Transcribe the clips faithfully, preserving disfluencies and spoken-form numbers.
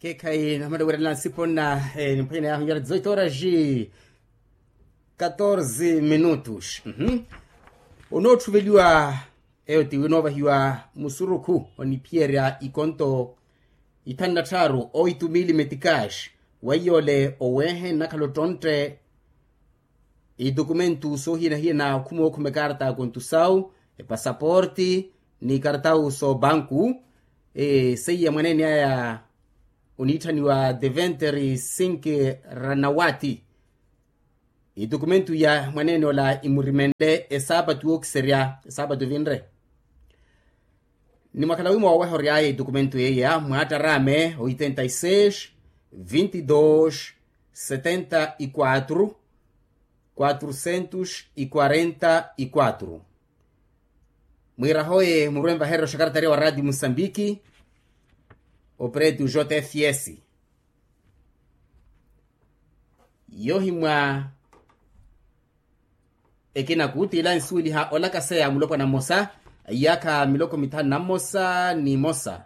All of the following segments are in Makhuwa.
Keekhayi namala werela nsipo nna, nimphwanyana yahu nyara dizoito horas, katorze minutos. Onoottuveliwa eyo ti winoovahiwa musurukhu oniphiyerya ikonto ithanu na tthaaru oitu mili metikaxi. Weiyo ole oweehe nnakhala ottontte itukumentu soohiyana-hiyana okhuma okhuma ekarta ya kontusawu, epasaporti, ni ikartawu soobanku. Seiya mwaneene aya oniitthaniwa deventeri sinki ranawati. Itukumentu ya mwaneene ola imurimenle esaapatu yookiserya esaapatu evinre. Ni mwakhala wi mooweha ory'aya itukumentu yeeya mwaattaraame oitenta y seis, vinti dos, setenta y quatro, quatrucentos y quarenta y quatro. Mwiirahoye murwe nvahererya oxakaratariya wa raatiyo musambiki, opretu jotefiyesi. Yohimwa ekina kutila nsuweliha olakaseya mulopwana mmosa a iyaakha miloko mithanu na mmosa ni mmosa.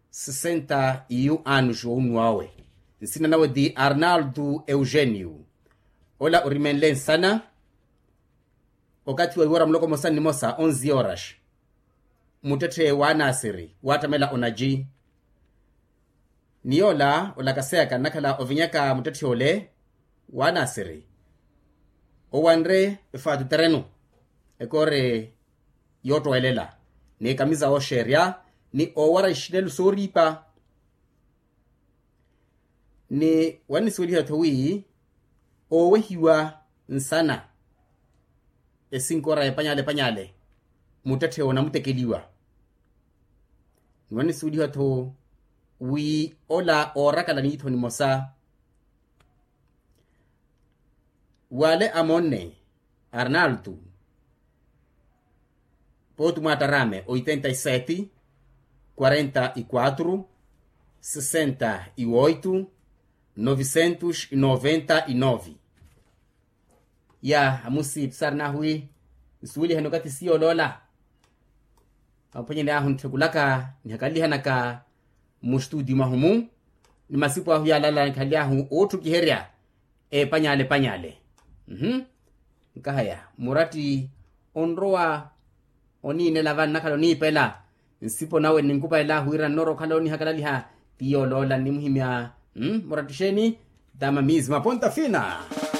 Sesenta yu anuxi wowunnuwa owe. Nsina nawe ti arnaldo eugenio. Ola orimenle nsana okathi wa iwora muloko mmosa ni mmosa onzi yoraxi. Muttetthe w'anasiri waattamela onaji. Ni yoola olakaseyaka nnakhala ovinyaka muttetthe ole w'anasiri. Owanre efaatu terenu ekoore yoottowelella ni ekamisa wooxeerya ni oowara ixinelu sooriipa. Ni wannisuweliha-tho wi oowehiwa nsana esinkora epanyale-panyale muttetthe onamutekeliwa. Ni wannisuweliha-tho wi ola oorakala niitho nimosa. Wale amonne arnaldo pooti mwaattaraame oitenta y sete, quarenta y quatro, sesenta y oito, novecentos y noventa y nove. Ya amusi pisari nahu wi nsuwelihani okathi siyooloola. Aphwanyani ahu ntthukulaka nihakalalihanaka mmustudio mwahu-mu ni masipu ahu yaalala nikhalyahu ootthukiherya epanyale-panyale. Nkahaya muratti onrowa oniinela vannakhala oniipela nsipo nawe ninkupalela ahu wira nnoora okhala onihakalaliha. Ti yooloola nnimuhimya muratti xeeni? Tama mizi maponta fina.